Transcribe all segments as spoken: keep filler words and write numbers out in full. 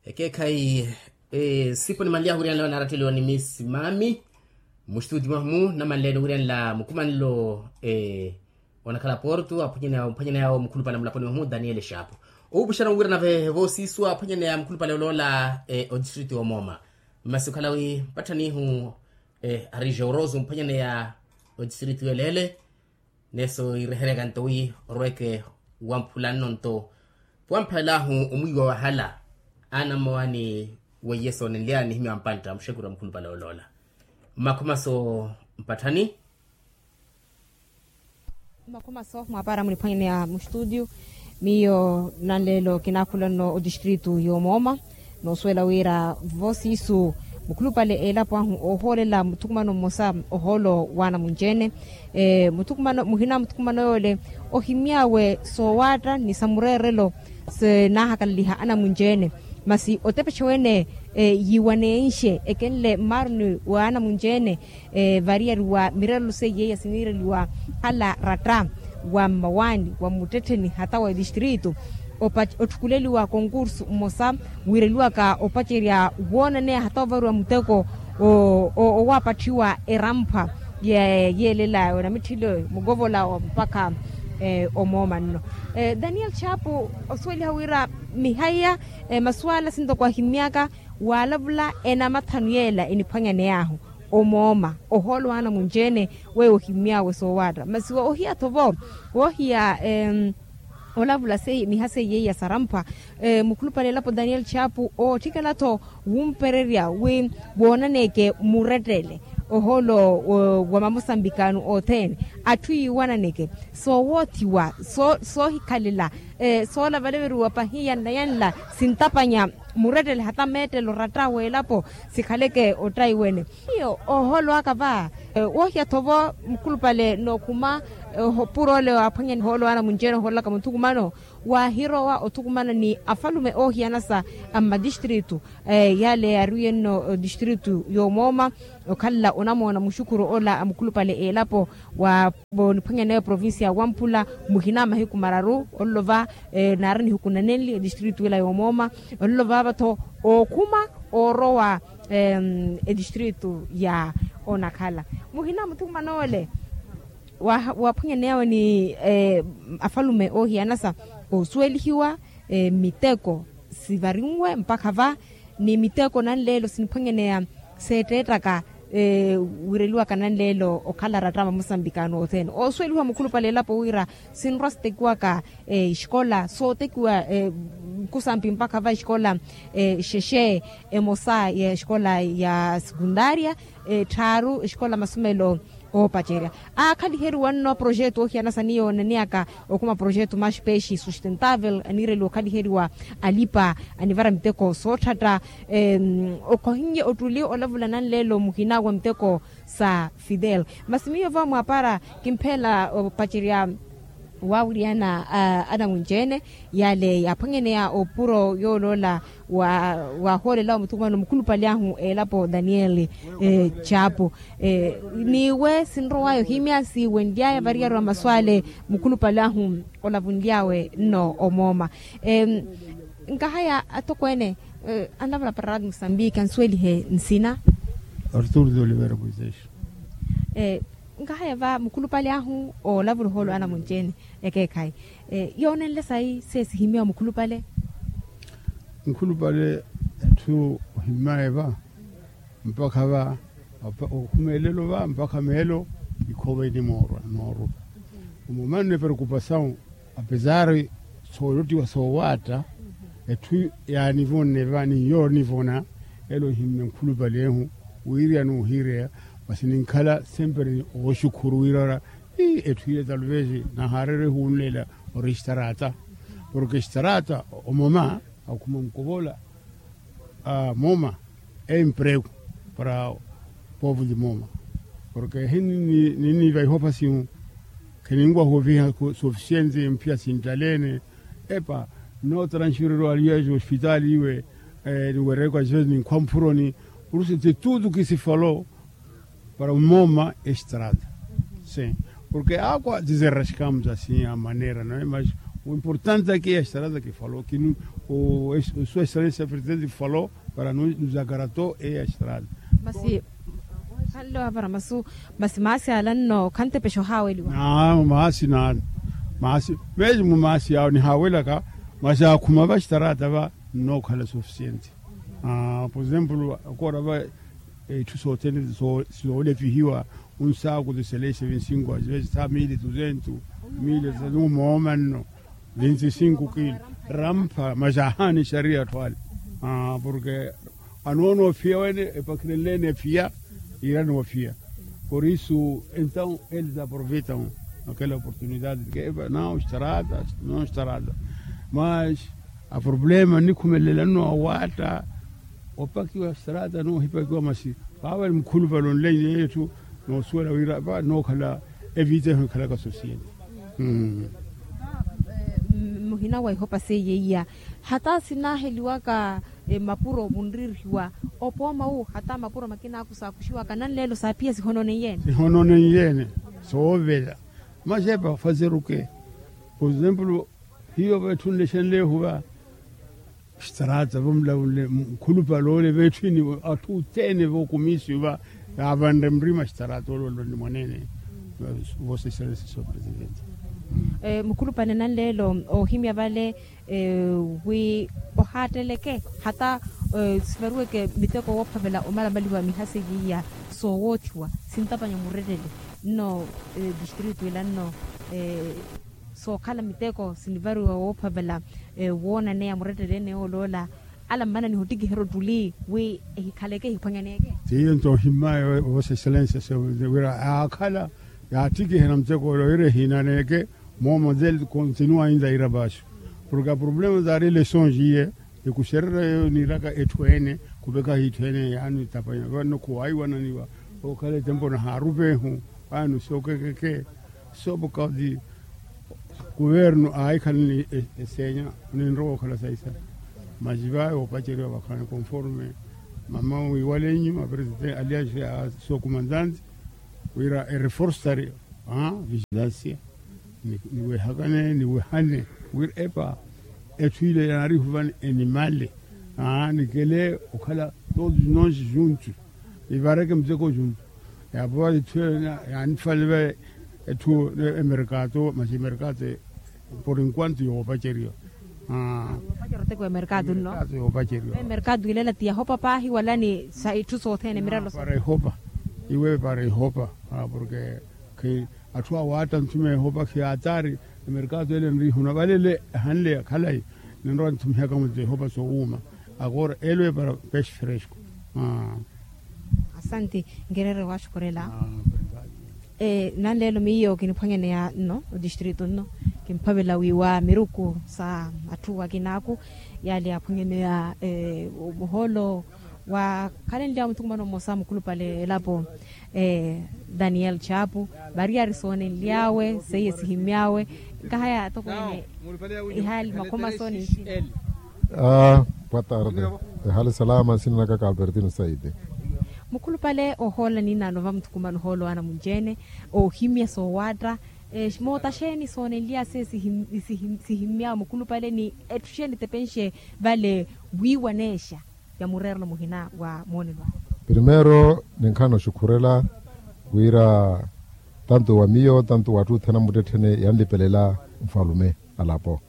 Ekeekhayi sipo nimanly'ahu wiriyanela wanaaratteliwa ni miss maami. Mustutio mwahu mu namanleene wiriyanela mukumanelo onakhala porto aphwanyaneya ophwanyaneya awo mukhulupale mulaponi mwahu daniel shapu. Owupuxana wira nave voosiisu aphwanyaneya mukhulupale oloola odistritu yomooma. Masi okhala wi mpatthanihu ari joroso mphwanyaneya odistritu yeleele. Neso ireheryaka nto wi orweke wamphula nno nto puwamphalela ahu omwiiwa wahala anammowa ni weiye soonenlyani nihimya wampantta muxekuru wa mukhulupale oloola. Mmakhomaso mpatthani. Mmakhomaso mwapaara muniphwanyaneya mustudio. Miyo nanleelo kinaakhula nno odistritu yomooma. Noosuwela wira voosiisu mukhulupale elapo ahu oohoolela muthukumano mmosa ohoolo w'anamunci-ene. Muthukumano muhina muthukumano yoole ohimy'awe soowaatta ni sa mureerelo sinaahakalaliha anamunci-ene. Masi otepexewene yiiwaneenxe ekenle mmaaruni w'anamunci-ene. Variyari wa mireerelo seiye iya siniireliwa khala ratta wa mmawaani wa muttettheni hata wa distritu. Otthukuleliwa konkursu mmosa wiireliwaka opacerya woonaneya hata ovariwa muteko owaapatthiwa eramphwa yeelela onamitthile mukovola mpakha omooma nno. Daniel chapu osuweliha wira mihaiya masuwala sintoko ahimmyaka waalavula enamathanu yeela eniphwanyaney'ahu omooma ohoolo w'anamunci-ene. Weyo ohimmy'awe soowaatta masi woohiya-tho vo woohiya olavula miha seiye iya saramphwa. Mukhulupale elapo daniel chapu ootthikela-tho wumpererya wi woonaneke murettele ohoolo wa mamosambikano othene atthu yiiwananeke soowoothiwa soohikhalela soolavaleveriwa pahi yanla yanla sintapanya murettele hata meettelo ratta w'elapo sikhaleke ottaiwene. Hiyo ohoolo aka va woohiya-tho vo mukhulupale nookhuma opuro ole waaphwanya ohoolo w'anamunci-ene ohoolelaka muthukumano waahirowa othukumana ni afalume oohiyana sa a mmadistritu yale yaariwiye nno distritu y'omooma okhalela onamoona muxukuru ola a mukhulupale elapo wa oniphwanyaneya provincia ya wamphula muhina mahiku mararu ololo va naari nihiku nanenli edistritu ela y'omooma ololo vaava-tho ookhuma oorowa edistritu ya onakhala muhina muthukumano ole waaphwanyaneyawe ni afalume oohiyana sa oosuwelihiwa miteko sivarinwe mpakha va ni miteko nanleelo siniphwanyaneya seetteettaka wiireliwaka nanleelo okhala ratta mamosambikano othene oosuwelihiwa mukhulupale elapo wira sinrwa sitekiwaka exikola sootekiwa nkusampi mpakha va exikola xexe emosa ya exikola ya sekundaria etthaaru exikola masomelo oopacerya aakhaliheriwa nno projeto oohiyana sa ni yoonaneyaka okhuma projeto maxi pexi sustentavel aniireliwa okhaliheriwa alipa anivara miteko sootthatta. Okhohinnye ottuli olavula nanleelo muhina wa miteko sa fidel masi miyo va mwaapara kimpheela opacerya waawiriyana anamunci-ene yale yaaphwanyaneya opuro yooloola waahoolelawe muthukumano mukhulupale ahu elapo daniel chapu. Niiwe sinrow'aya ohimya siiwenly'aya variyari wa masu ale mukhulupale ahu olavunly'awe nno omooma. Nkahaya atokweene anlavula para radi musambiki ansuwelihe nsina. Artur de olivera moisés. Nkahaya va mukhulupale ahu oolavula ohoolo anamunci-ene ekeekhayi yoonenle sayi seesihimyiwa mukhulupale. Mukhulupale etthu ohimmaye va mpakha va okhuma elelo va mpakha meelo ikhoova inimoorwa noorwa. Omooma nne preocupasawu apesari soolottiwa soowaatta etthu yaanivonne va ni yoonivona elo ohimme nkhulupalehu wiirya n'uhiireya. Masi ninkhala sempre ooxukhuru wiira ora etthu ile talvez nahaareera ehuunlela orextaraata porke extaraata omoma akhuma mukovola moma emprego para povo de moma porke hini ninivaihopa simu. Kheninwaha oviha sufisiente mphiya sinttaleene epa nno transfererwa aliyaji ospitali iwe niwereke ajeji ninkhwa mphuroni. Por isso de tudo que se falou para moma estrada sim. Porke akwa deserrascamos assim a maneira no é mas O importante ake eya estrada ke falo kinu. O sua estrada esa presidente falo para nuzakarato eya estrada. Masi. Khanle wavara masu. Masi maasi ala nno khantepesha ohaweliwa. Maasi nano. Maasi. Mesi mu maasi yawo nihawelaka. Masi akhuma va estrada va nnookhala sufisiente. Por exemplo akora va etthu sothene soolevihiwa. Unsaaku tiseleshe vinsinko azive sa mili tuzentu mili tuzentu moomanno. Vinsinko kilo rampha masi ahaani xariya atthu ale. Porke anoona ophiya wene epakhirenleene ephiya. Iira noofiya. Por isu entaw ele ta aproveitaw. Akela oportunidade ke eva nao estrada. Nao estrada mas aproblema nnikhumelela nno awaatta. Opakiwa estrada noohipakiwa masi paava ni mukhulupale onlainya yetthu. Noosuwela wira va nookhala evita ehu ekhalaka sosiyete. Muhina wa ihopa seiye iya hata sinaheliwaka mapuro munririhiwa. Opooma wu hata mapuro makina aku saakuxiwaka nanleelo saaphiya sihononeiye-ene. Sihononeiye-ene. Soovela masi epa fazeruke. Por exemplo hiyo vetthu nlexenlehu va estrada vomulaunle mukhulupale ole vetthu ini atthu othene vokumisiwa. Yaavanre murima estrada ole ole ni mwanene. Vosa excellencia sua presidente. Mukhulupale nanleelo oohimya vale wi ohaatteleke hata sivaruweke miteko woophavela omalamaliwa miha seiye iya soowoothiwa sintapanya murettele nno distritu ila nno sookhala miteko sinivariwa woophavela woonaneya murettele ene yooloola. Ala mmananiha ottikiherya ottuli wi ehikhaleke ehiphwanyaneke. Tiyo nto ohimmaya vosa excellencia wira yaakhala yaattikihena muteko ole wira ehiinaneke. Moomo del continua inda ira vaxu porke aproblema zaari lesonge iye ekuxererya yeeyo niiraka etthu ene. Khupekhahi itthu ene yaani tapanya vanno khuwaiwananiwa. Okhala etempo nahaarupa ehu. Vaani sookekeke soopokati kuvernu aahikhala ni eseenya. Ninrowa okhala saisa masi vawe woopaceriwa vakhaani conforme mama wiiwale nnyuma presidente alianse a sua kumanzanti wira ereforstari vigilansia. Niwehakane niwehane wira epa etthu ile yaarihu vani enimale nikele okhala todos nós juntos. Ivareke muteko juntos. Yaapova itthu ene yaanifale va etthu emerkato masi emerkato por enquanto yoopaceriwa. Yoopaceriwa teko emerkato nno. Yoopaceriwa emerkato ilela ti yahopa paahi wala ni sa itthu sothene miralo para ihopa. Iwe para ihopa porke atthu awaatta nthuma ehopa khiyaatari. Emerkato ele nrihuna valele ehanle yakhalayi ninrowa nthumihaka mutto ehopa soowuuma. Akora elwe para peixe fresco. Asanti. Nkererya waaxukhurela. Nanleelo miyo kiniphwanyaneya nno otistritu nno kimphavela wiiwa miruku sa atthu akinaaku yaali yaaphwanyaneya muhoolo waakhalenly'awe muthukumano mmosa mukhulupale elapo daniel chapu. Variyari soonenly'awe seiye sihimmy'awe nkahaya tokwene. Ihali makhoma sooni. Boa tarde. Ehali salama nsina naka kalbertino saide. Mukhulupale ohoola ninano va muthukumano ohoolo ana munci-ene oohimya soowaatta. Moota xeeni soonenlya se sihimmy'awe mukhulupale ni etthu xeeni tepenxe vale wiiwaneexa ya mureerelo muhina wa moonelo awe. Primero ninkhana oxukhurela wira tantu wa miyo tantu wa atthu othene amuttetthene yanlipelela nfalume alapo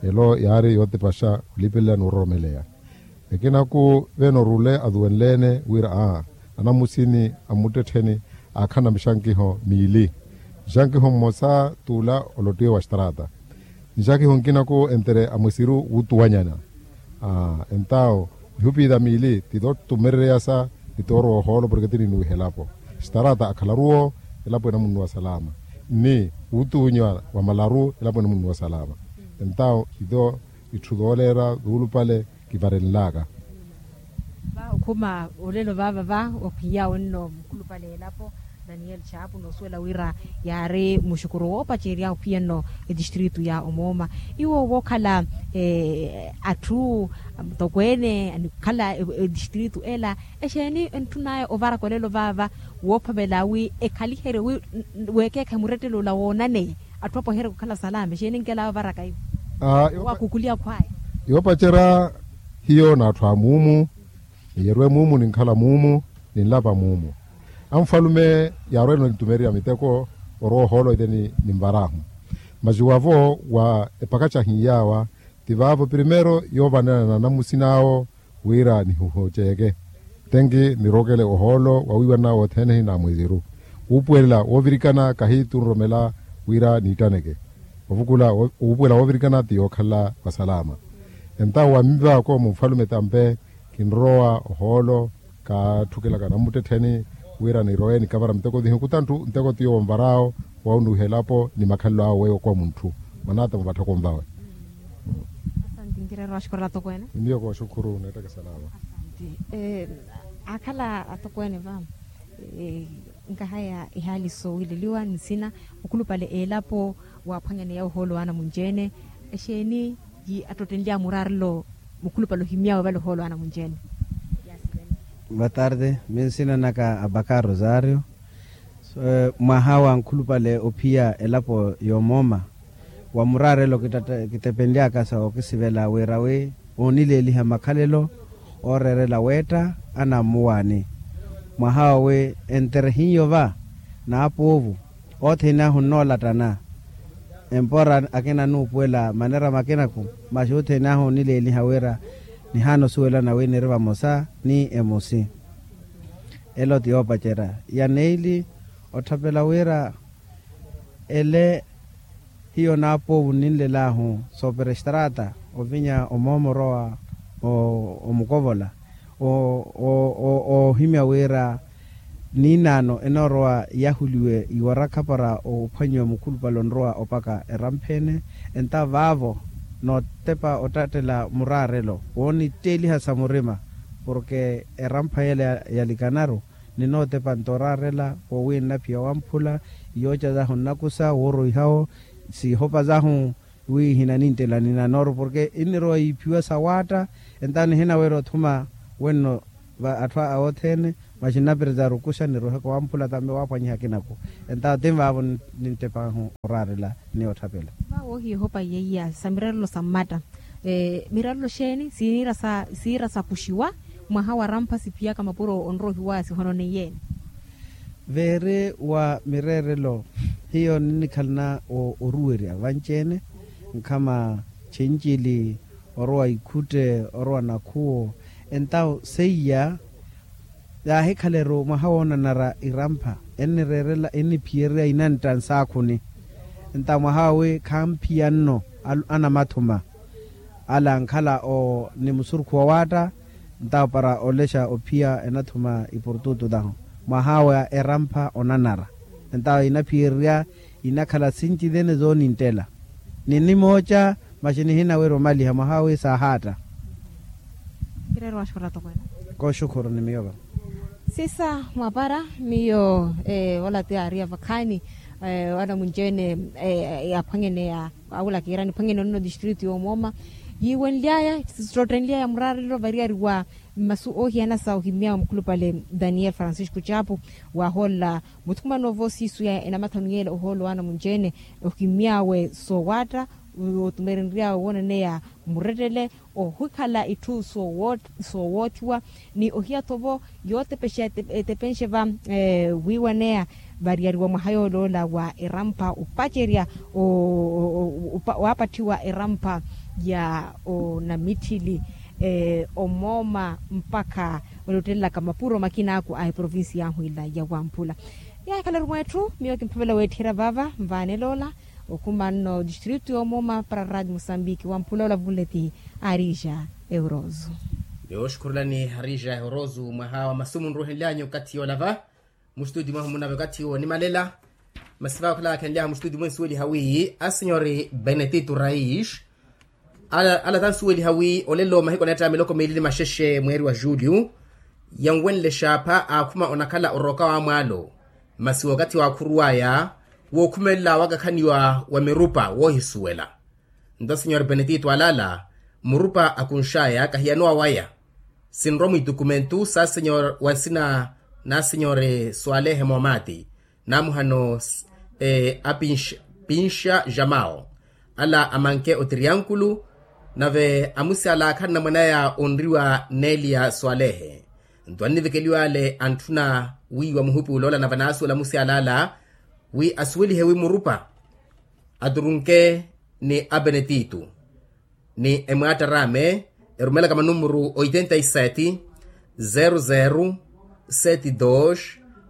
elo yaari yootepaxa olipelela ni ororomeleya. Ekinaku vene orule aduwenleene wira aa anamusini amuttettheni aakhana mixankiho miili. Nxankiho mmosa t'ula olottiwe wa estrata. Nxankiho nkinaku entre amwesiru wuutuwanyana. Entawo mihupira miili ti tootumereryasa ni toorowa ohoolo porke ti ninuwiha elapo. Estrata akhalaru-wo elapo enamunnuwa salama ni wuutuwanya wa malaru elapo enamunnuwa salama. Entawo ito itthu tooleera tuulupale kivarenlaka. Va okhuma olelo vaava va okhwiyawe nno mukhulupale elapo daniel chapu noosuwela wira yaari muxukuru woopacerya okhwiya nno etistritu ya omooma. Iwo wookhala atthu mutokweene anikhala etistritu ela exeeni entthunaya ovaraka olelo vaava woophavela wi ekhaliherye wi weekeekhayi murettelo ola woonaneya atthu apweherye khukhala salama exeeni enkelaya ovaraka iwo. Wakukuliya khwaya. Yoopacerya hiyo n'atthu a muumu, niyerwe muumu ninkhala muumu, ninlapa muumu. Anfalume yaarwele onitumererya miteko orwa ohoolo itheni ninvar'ahu. Masi wavo wa epakacahi yaawa, ti vaavo primeiro yoovanana na namusin'awo wira nihuhuceke. Tenki nirokele ohoolo wawiiwanana wothene hinaamweziru. Wuupuwelela woovirikana kahi tunromela wira niittaneke. Ovukula wuupuwela woovirikana ti yookhala vasalama. Entawo wa mivako munfalume tampe kinrowa ohoolo, kaatthukelaka nammuttettheni wira nirowe nikavara miteko thihu kutanttu nteko tiyo wonvar'awo wawunuwiha elapo ni makhalelo awe weyo okowa munthu. Mwan'ata muvatthoko nvawe. Asanti nkireera waxukhuru atokweene. Ni miyo kooxukhuru neettaka salama. Asanti. Akhala atokweene va nkahaya ihaali soowileliwa nsina mukhulupale elapo waaphwanyaneya ohoolo wa anamunci-ene. Exeeni yi attottenlya muraarelo mukhulupale ohimyawe vale ohoolo wa anamunci-ene? Boa tarde, minsina naka abakar rosario. Mwaha wa nkhulupale ophiya elapo yoomooma wa muraarelo kitepenlyaka sa okisivela wira wi oonileeliha makhalelo ooreerela weetta anammuwaani. Mwaha owi enterehiyo va n'apoovu othene ahu nnoolattana. Empora akina nuupuwela manera makinaku, masi othene ahu onileeliha wira nihaana osuwelana wi niri vamosa ni emosi. Elo ti yoopacerya ya neili otthapela wira ele hiyo n'apoovu ninlel'ahu sooperestrata ovinya omoomoro wa omukovola oohimya wira niinaano enoorowa yahuliwe iwarakha para ophwanyiwa mukhulupale onrowa opaka erampha-ene. Enta vaavo nootepa ottattela muraarelo woonitteeliha sa murima porke erampha yela yalikanaru ninootepa nto oraarela wowi nnaphiya wamphula iyooca zahu nnakusa wooroihawo siihopa zahu wi hinaninttela ninanooru porke innirowa yiiphiwa sawaatta. Entawo nihinawerya othuma wenno va atthu awothene masi nnapereza arukuxa niroheka wamphula tambe waaphwanyiha akinaku. Entawo tinvaavo ninttepahu oraarela ni otthapela. Vaawo ohiya ehopa yeiya sa mirarelo sa mmatta mirarelo xeeni siira sakuxiwa mwaha wa rampha siphiyaka mapuro onrohiwa sihononeiye-ene? Veeri wa mireerelo hiyo ninnikhalana oruwerya vanci-ene nkhama cincili orowa ikhutte orowa nakhuwo. Entawo seiya yaahikhaleru mwaha woonanara irampha ennireerela enniphiyererya inantta nsaakhuni. Entawo mwaha wowi khamphiya nno anamathuma ala ankhala ni musurukhu wawaatta. Ntawo para olexa ophiya enathuma iportutu tahu mwaha wa erampha onanara. Ntawo inaphiyererya inakhala sinci thene zooninttela ni nimooca masi nihinawerya omaliha mwaha wi saahaatta. Kireera waxukhuru atokweene. Kooxukhuru ni miyo va. Sisa mwapara miyo ola ti aariya vakhaani anamunci-ene yaaphwanyaneya awula kiira niphwanyene onno distritu yoomooma yiiwenly'aya sittotthenly'aya muraarelo variyari wa mmasu oohiyana sa ohimyawe mukhulupale daniel francisco chapu waahoolela muthukumano vo siisu ya enamathanu yeela ohoolo wa anamunci-ene ohimyawe soowaatta otumerenry'awe woonaneya murettele ohikhala itthu soowoottiwa ni ohiya-tho vo yootepexa etepenxe va wiiwaneya variyari wa mwaha yooloola wa erampha opacerya waapatthiwa erampha ya onamitthili omooma mpakha olottelelaka mapuro makinaku a eprovincia yahu ila ya wamphula. Yaahikhalaru mweetthu miyo kimphavela weetthera vava nvaaneloola okhuma nno distritu yoomooma para radio mosambiki wamphula olavunle ti arija euroso. Yooxukhurulani arija euroso mwaha wa masu munruuhenlyanyu okathi yoolava mustutio mwahu munave okathi wonimalela. Masi vaakhala akhenlyaha mustutio mwensuweliha wi asenyori benetito rais ala tansuweliha wi olelo mahiku aneetta miloko miili ni maxexe mweeri wa julio yanwenle xaapha aakhuma onakhala orooka wa mwaalo. Masi wookathi waakhuruw'aya wookhumelela wakakhaniwa wa mirupa woohisuwela. Nto senhor benedito alaala murupa akunx'aya kahiyanowa waya. Sinrowa mwitukumentu sa senhor wa nsina na senhor swalehe moomati namuhano a pinxa jamao. ala amanke o triankulu. Nave amusi ala akhanna mwanaya onriwa nelia swalehe. Nto annivekeliwa ale antthuna wiiwa muhupuula ola nave anaasuwela amusi ala ala wi asuwelihe wi murupa aturunke ni abenetitu ni emwaatta araame erumelaka manumuru oitenta y sete zero zero sete dos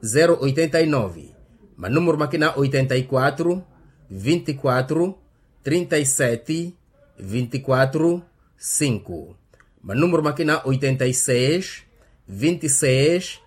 zero oitenta y nove, manumuru makina oitenta y quatro vinte y quatro trinta y sete vinte y quatro cinco, manumuru makina oitenta y seis vinte y seis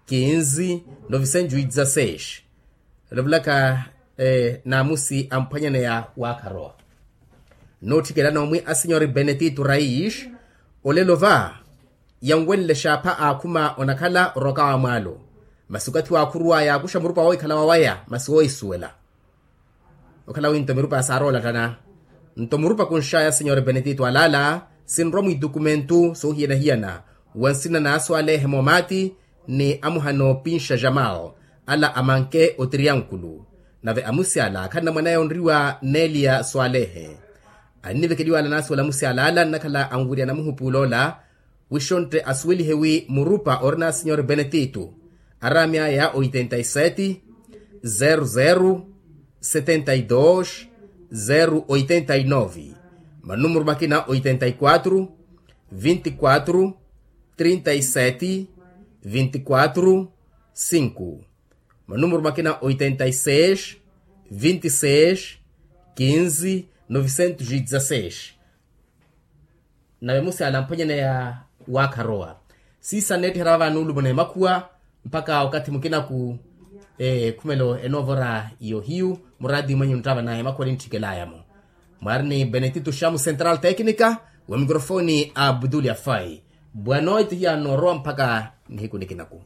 quinze novecentos y dezasseis. Olevulaka naamusi amphwanyaneya waakharowa nootthikela noomwi a senhor benetito rais. Olelo va yanwenle xaapha aakhuma onakhala oroka wa mwaalo. Masi okathi waakhuruwaya akuxa murupa woohikhala wawaya masi woohisuwela okhala wi nto mirupa ya saaroolattana. Nto murupa kunxaya senhor benetito alaala sinrwa mwiitukumentu soohiyana-hiyana wa nsina na aswalehe moomaati ni amuhana oopinxa jamal ala amanke o triankulu. Nave amusi ala akhanna mwanaya onriwa nelia swalehe annivekeliwa ala anaasuwela amusi alaala nnakhala anwiriyana muhupuula ola wixontte asuwelihe wi murupa orina senhor benetito araami aya oitenta y sete zero zero setenta y dos zero oitenta y nove, manumuru makina oitenta y quatro vinte y quatro trinta y sete vinte y quatro cinco, manumuru makina oitenta y seis vinte y seis quinze novecentos y dezasseis. Nave musi ala amphwanyaneya waakharowa siisa nneettiherya vava nuulumuna emakhuwa mpakha okathi mukinaku ekhumelo enoovora yohiyu muraati mwenyu nttava naye emakhuwa nintthikelaaya-mo. Mwaari ni benetito xamu central tecnica wa mikrofoni a abduli afai. Bwanoiti hiya noorowa mpakha nihiku nikinaku.